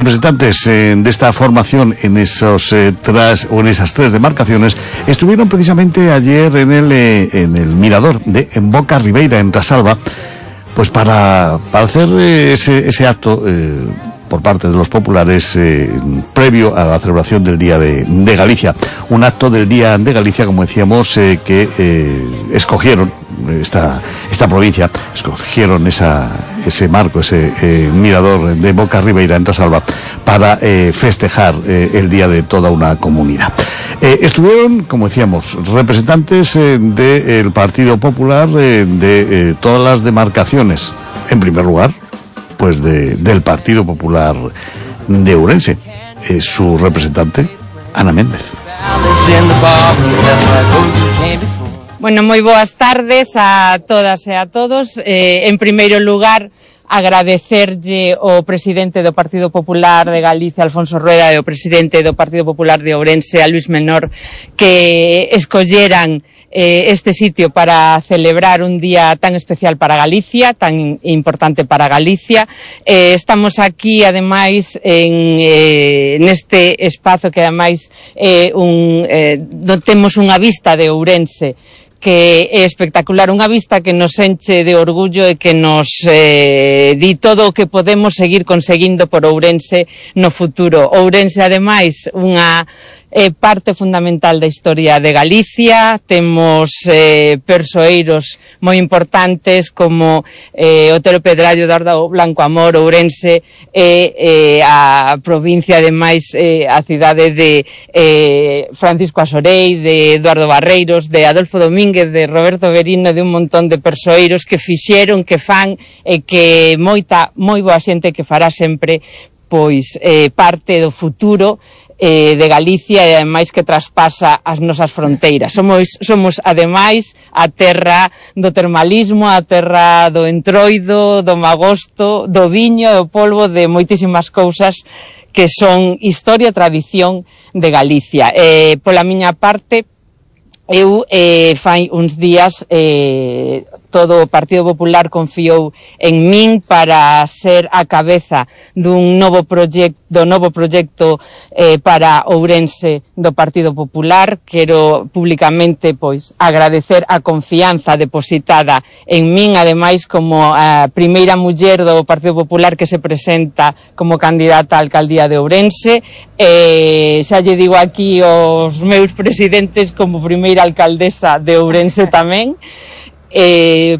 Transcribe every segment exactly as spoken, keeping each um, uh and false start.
representantes eh, de esta formación en esos eh, tras o en esas tres demarcaciones estuvieron precisamente ayer en el eh, en el mirador de en Boca Ribeira, en Trasalba, pues para para hacer eh, ese ese acto eh, por parte de los populares eh, previo a la celebración del Día de, de Galicia, un acto del Día de Galicia, como decíamos, eh, que eh, escogieron esta esta provincia, escogieron esa ese marco, ese eh, mirador de Boca Ribeira en Trasalba para eh, festejar eh, el día de toda una comunidad. Eh, estuvieron, como decíamos, representantes eh, del Partido Popular eh, de eh, todas las demarcaciones. En primer lugar, pues de, del Partido Popular de Ourense, eh, su representante, Ana Méndez. Bueno, moi boas tardes a todas e a todos. Eh, en primeiro lugar, agradecerlle ao presidente do Partido Popular de Galicia, Alfonso Rueda, e ao presidente do Partido Popular de Ourense, a Luís Menor, que escolleran eh, este sitio para celebrar un día tan especial para Galicia, tan importante para Galicia. Eh, estamos aquí, ademais, en, eh, neste espazo que, ademais, eh, un, eh, temos unha vista de Ourense que é espectacular, unha vista que nos enche de orgullo e que nos eh, di todo o que podemos seguir conseguindo por Ourense no futuro. Ourense, ademais, unha é parte fundamental da historia de Galicia. Temos eh, persoeiros moi importantes como eh, Otero Pedrallo, Eduardo Blanco Amor, Ourense e eh, a provincia, ademais, eh, a cidade de eh, Francisco Asorei, de Eduardo Barreiros, de Adolfo Domínguez, de Roberto Verino, de un montón de persoeiros que fixeron, que fan e que moita, moi boa xente que fará sempre pois eh, parte do futuro eh, de Galicia e ademais que traspasa as nosas fronteiras. Somos, somos ademais a terra do termalismo, a terra do entroido, do magosto, do viño, do polvo, de moitísimas cousas que son historia e tradición de Galicia. Eh, pola miña parte, eu eh, fai uns días eh, todo o Partido Popular confiou en min para ser a cabeza dun novo proxecto, do novo proxecto eh, para Ourense do Partido Popular. Quero públicamente pois agradecer a confianza depositada en min, ademais como a primeira muller do Partido Popular que se presenta como candidata á alcaldía de Ourense. Eh, xa lle digo aquí aos meus presidentes como primeira alcaldesa de Ourense tamén. Eh,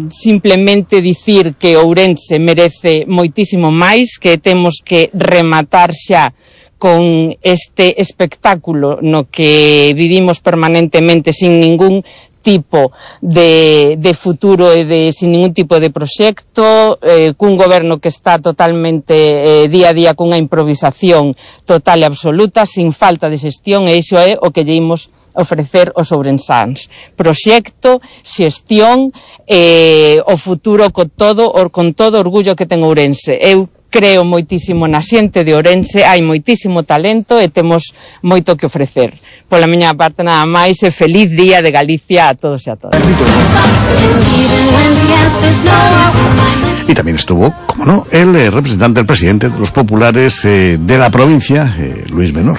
simplemente dicir que Ourense merece moitísimo máis, que temos que rematar xa con este espectáculo no que vivimos permanentemente sin ningún tipo de, de futuro e de, sin ningún tipo de proxecto, eh, cun goberno que está totalmente eh, día a día cunha improvisación total e absoluta, sin falta de xestión, e iso é o que lle imos ofrecer os ourensáns. Proxecto, xestión, eh, o futuro con todo, con todo orgullo que ten Ourense. Eu creo moitísimo na xente de Ourense, hai moitísimo talento e temos moito que ofrecer. Pola miña parte nada máis e feliz Día de Galicia a todos e a todas. Y también estuvo, como no, el eh, representante, el presidente de los populares eh, de la provincia, eh, Luís Menor.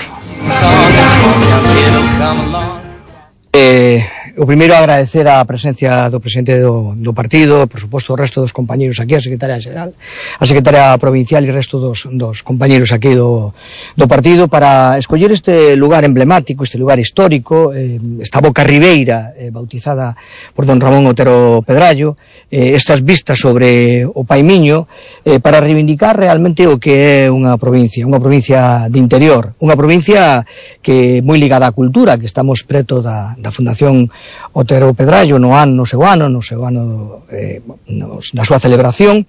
Eh, o primeiro agradecer a presencia do presidente do, do partido, por suposto o resto dos compañeiros aquí, a secretaria xeral, a secretaria provincial e o resto dos, dos compañeiros aquí do, do partido para escoller este lugar emblemático, este lugar histórico, eh, esta Boca Ribeira, eh, bautizada por don Ramón Otero Pedrallo, eh, estas vistas sobre o Paimiño, eh, para reivindicar realmente o que é unha provincia, unha provincia de interior, unha provincia que é moi ligada á cultura, que estamos preto da, da Fundación Otero Pedrallo no ano, no seu ano, no seu ano eh, nos, na súa celebración,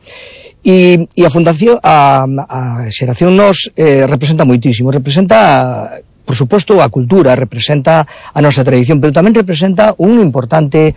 e, e a Fundación, a, a Xeración Nos eh, representa moitísimo, representa, por suposto, a cultura, representa a nosa tradición, pero tamén representa un importante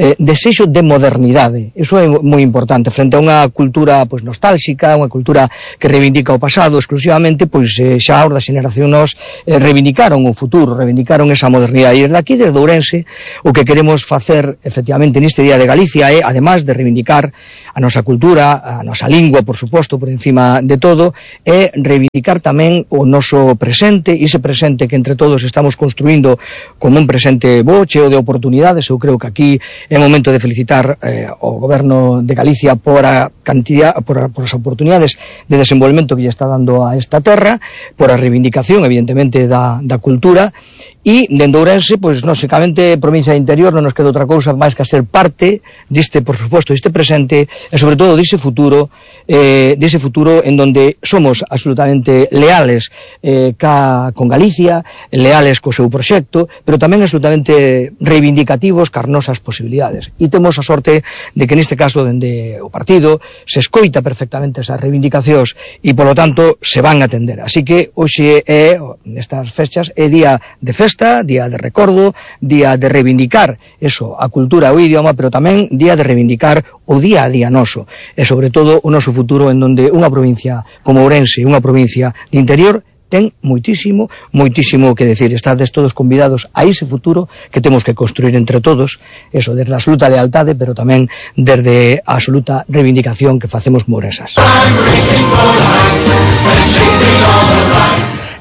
eh, desexo de modernidade. Iso é moi importante, frente a unha cultura pois nostálxica, unha cultura que reivindica o pasado exclusivamente, pois eh, xa os da xeneración nos eh, reivindicaron o futuro, reivindicaron esa modernidade. E desde aquí, desde Ourense, o que queremos facer efectivamente neste Día de Galicia é, además de reivindicar a nosa cultura, a nosa lingua, por suposto, por encima de todo, é reivindicar tamén o noso presente, e ese presente que entre todos estamos construindo como un presente bo, cheo de oportunidades. Eu creo que aquí é momento de felicitar eh, o Goberno de Galicia por a cantidad, por, a, por as oportunidades de desenvolvemento que lle está dando a esta terra, por a reivindicación, evidentemente, da, da cultura. E, dende Ourense, pois, lógicamente, provincia de interior non nos queda outra cousa máis que a ser parte deste, por suposto, deste presente e, sobre todo, dese futuro, eh, dese futuro en donde somos absolutamente leales eh, ca, con Galicia, leales co seu proxecto, pero tamén absolutamente reivindicativos cas nosas posibilidades. E temos a sorte de que, neste caso, dende o partido, se escoita perfectamente esas reivindicacións e, polo tanto, se van a atender. Así que, hoxe é, nestas fechas, é día de festa, día de recordo, día de reivindicar eso, a cultura, o idioma, pero tamén día de reivindicar o día a día noso, e sobre todo o noso futuro, en donde unha provincia como Ourense, unha provincia de interior, ten moitísimo, moitísimo que decir. Estades todos convidados a ese futuro que temos que construir entre todos, eso, desde a absoluta lealtade, pero tamén desde a absoluta reivindicación que facemos como ourensas.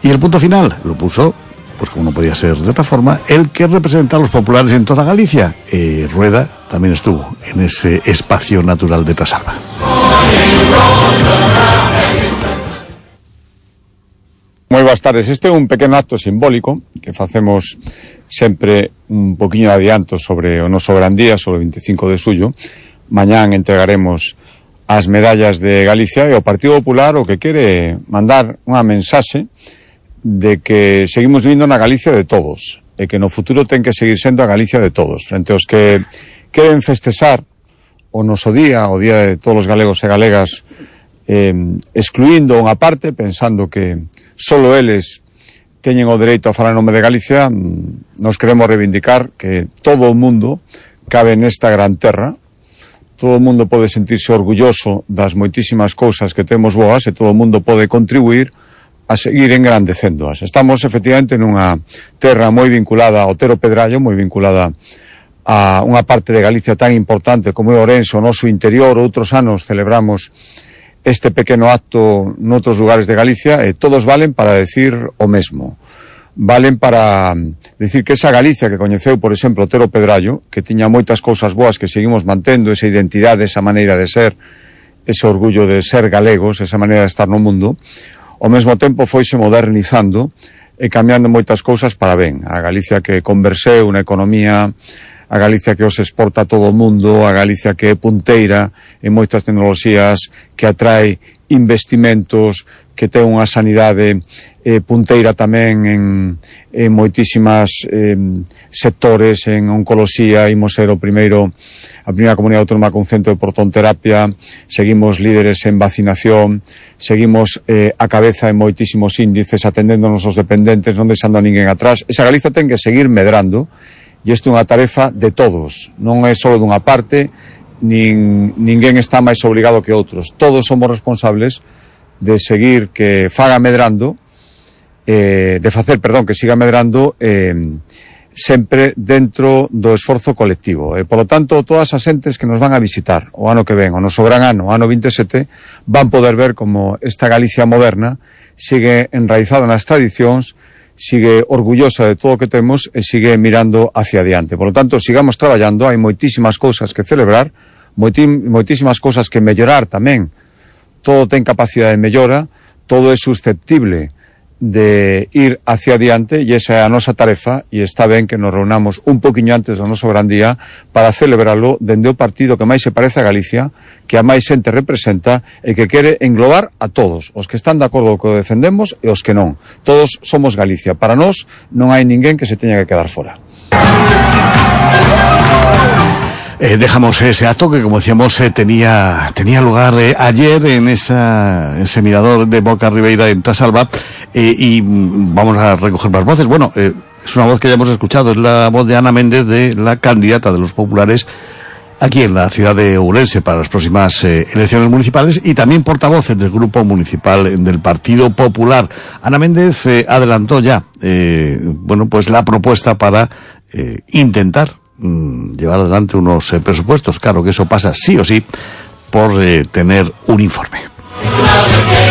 Y el punto final lo puso, pues como no podía ser de otra forma, el que representa a los populares en toda Galicia. Eh, Rueda también estuvo en ese espacio natural de Trasalba. Moi boas tardes. Este é un pequeno acto simbólico que facemos sempre un poquinho de adianto sobre o noso gran día, sobre o veinticinco de xullo. Mañán entregaremos as medallas de Galicia e o Partido Popular o que quere mandar unha mensaxe de que seguimos vivindo na Galicia de todos e que no futuro ten que seguir sendo a Galicia de todos. Frente aos que queren festexar o noso día, o día de todos os galegos e galegas, eh, excluindo unha parte, pensando que solo eles teñen o dereito a falar en nome de Galicia, nos queremos reivindicar que todo o mundo cabe nesta gran terra, todo o mundo pode sentirse orgulloso das moitísimas cousas que temos boas e todo o mundo pode contribuir a seguir engrandecéndoas. Estamos efectivamente nunha terra moi vinculada ao Otero Pedrallo, moi vinculada a unha parte de Galicia tan importante como é Ourense, o noso interior. Outros anos celebramos este pequeno acto noutros lugares de Galicia e todos valen para decir o mesmo. Valen para decir que esa Galicia que coñeceu, por exemplo, Otero Pedrallo, que tiña moitas cousas boas que seguimos mantendo, esa identidade, esa maneira de ser, ese orgullo de ser galegos, esa maneira de estar no mundo, ao mesmo tempo foise modernizando e cambiando moitas cousas para ben. A Galicia que converseu na economía, a Galicia que os exporta a todo o mundo, a Galicia que é punteira en moitas tecnoloxías, que atrae investimentos, que ten unha sanidade eh, punteira tamén en, en moitísimas eh, sectores, en oncoloxía, imos ser o primeiro, a primeira comunidade autónoma con centro de protonterapia, seguimos líderes en vacinación, seguimos eh, a cabeza en moitísimos índices, atendendo a nosos dependentes, non deixando a ninguén atrás. Esa Galiza ten que seguir medrando, e isto é unha tarefa de todos, non é só dunha parte, nin, ninguén está máis obrigado que outros. Todos somos responsables de seguir que faga medrando, eh, de facer, perdón, que siga medrando eh, sempre dentro do esforzo colectivo. E, polo tanto, todas as entes que nos van a visitar o ano que ven, o noso gran ano, o ano veintisiete, van poder ver como esta Galicia moderna sigue enraizada nas tradicións, sigue orgullosa de todo o que temos e sigue mirando hacia adiante. Por lo tanto, sigamos traballando, hai moitísimas cousas que celebrar, moitísimas cousas que mellorar tamén. Todo ten capacidade de mellora, todo é susceptible de ir hacia adiante e esa é a nosa tarefa e está ben que nos reunamos un poquinho antes do noso gran día para celebrarlo dende o partido que máis se parece a Galicia, que a máis xente representa e que quere englobar a todos, os que están de acordo co que defendemos e os que non. Todos somos Galicia. Para nós non hai ninguén que se teña que quedar fora. Eh, dejamos ese acto que, como decíamos, eh, tenía tenía lugar eh, ayer en esa, ese mirador de Boca Ribeira en Trasalba, eh, y vamos a recoger más voces. Bueno, eh, es una voz que ya hemos escuchado, es la voz de Ana Méndez, de la candidata de los populares aquí en la ciudad de Ourense para las próximas eh, elecciones municipales, y también portavoz del grupo municipal del Partido Popular. Ana Méndez eh, adelantó ya, eh, bueno, pues la propuesta para eh, intentar mm, llevar adelante unos eh, presupuestos. Claro que eso pasa sí o sí por eh, tener un informe.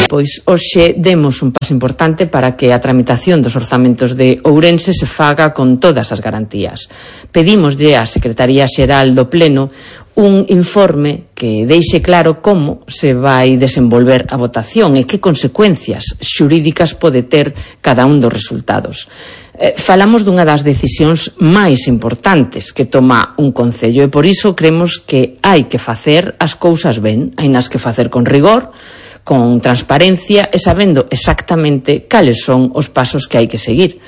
Pois hoxe demos un paso importante para que a tramitación dos orzamentos de Ourense se faga con todas as garantías. Pedímoslle á Secretaría Xeral do Pleno un informe que deixe claro como se vai desenvolver a votación e que consecuencias xurídicas pode ter cada un dos resultados. Eh, falamos dunha das decisións máis importantes que toma un concello e por iso creemos que hai que facer as cousas ben, hainas que facer con rigor, con transparencia e sabendo exactamente cales son os pasos que hai que seguir.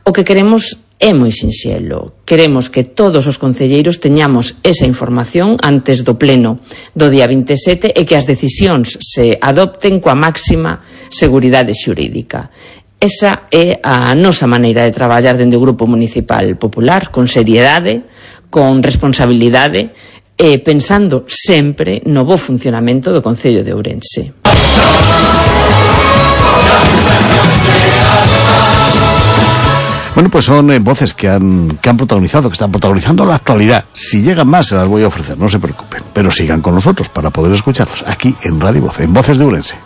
O que queremos é moi sinxelo. Queremos que todos os concelleiros teñamos esa información antes do pleno do día vinte e sete e que as decisións se adopten coa máxima seguridade xurídica. Esa é a nosa maneira de traballar dende o Grupo Municipal Popular, con seriedade, con responsabilidade e pensando sempre no bo funcionamento do Concello de Ourense. Bueno, pues son eh, voces que han, que han protagonizado, que están protagonizando la actualidad. Si llegan más, se las voy a ofrecer, no se preocupen. Pero sigan con nosotros para poder escucharlas aquí en Radio Voz, en Voces de Ourense.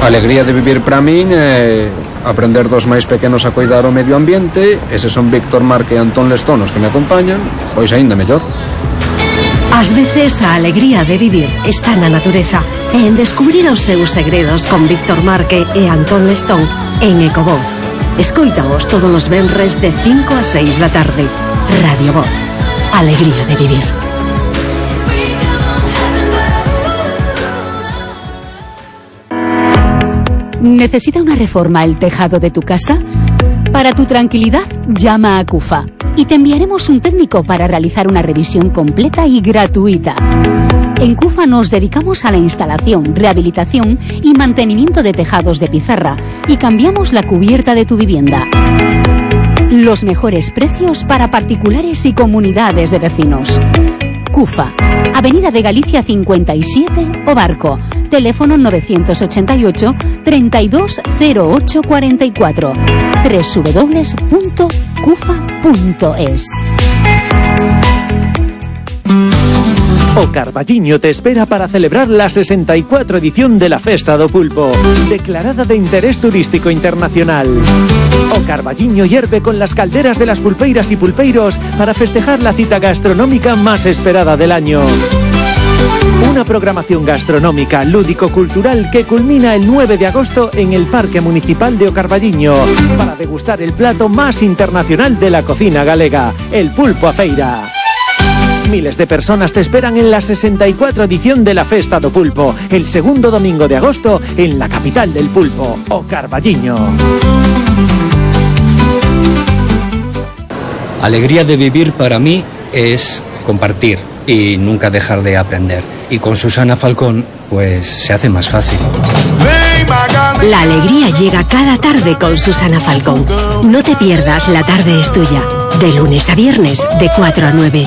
A alegría de vivir para min é aprender dos máis pequenos a cuidar o medio ambiente. Eses son Víctor Marque e Antón Lestón os que me acompañan, pois aínda mellor. Ás veces a alegría de vivir está na natureza e en descubrir os seus segredos con Víctor Marque e Antón Lestón en Ecovoz. Escoítaos todos os venres de cinco a seis da tarde. Radio Voz. Alegría de vivir. ¿Necesita una reforma el tejado de tu casa? Para tu tranquilidad, llama a CUFA y te enviaremos un técnico para realizar una revisión completa y gratuita. En CUFA nos dedicamos a la instalación, rehabilitación y mantenimiento de tejados de pizarra y cambiamos la cubierta de tu vivienda. Los mejores precios para particulares y comunidades de vecinos. CUFA, Avenida de Galicia cincuenta y siete, O Barco. Teléfono novecientos ochenta y ocho, treinta y dos cero ocho cuarenta y cuatro. doble u doble u doble u punto cufa punto es. O Carballiño te espera para celebrar la sesenta y cuatro edición de la Festa do Pulpo, declarada de interés turístico internacional. O Carballiño hierve con las calderas de las pulpeiras y pulpeiros para festejar la cita gastronómica más esperada del año. Una programación gastronómica, lúdico-cultural que culmina el nueve de agosto en el Parque Municipal de O Carballiño para degustar el plato más internacional de la cocina galega, el pulpo a feira. Miles de personas te esperan en la sesenta y cuatro edición de la Festa do Pulpo, el segundo domingo de agosto en la capital del pulpo, O Carballiño. Alegría de vivir para mí es compartir y nunca dejar de aprender. Y con Susana Falcón, pues se hace más fácil. La alegría llega cada tarde con Susana Falcón. No te pierdas La Tarde es Tuya, de lunes a viernes, de cuatro a nueve.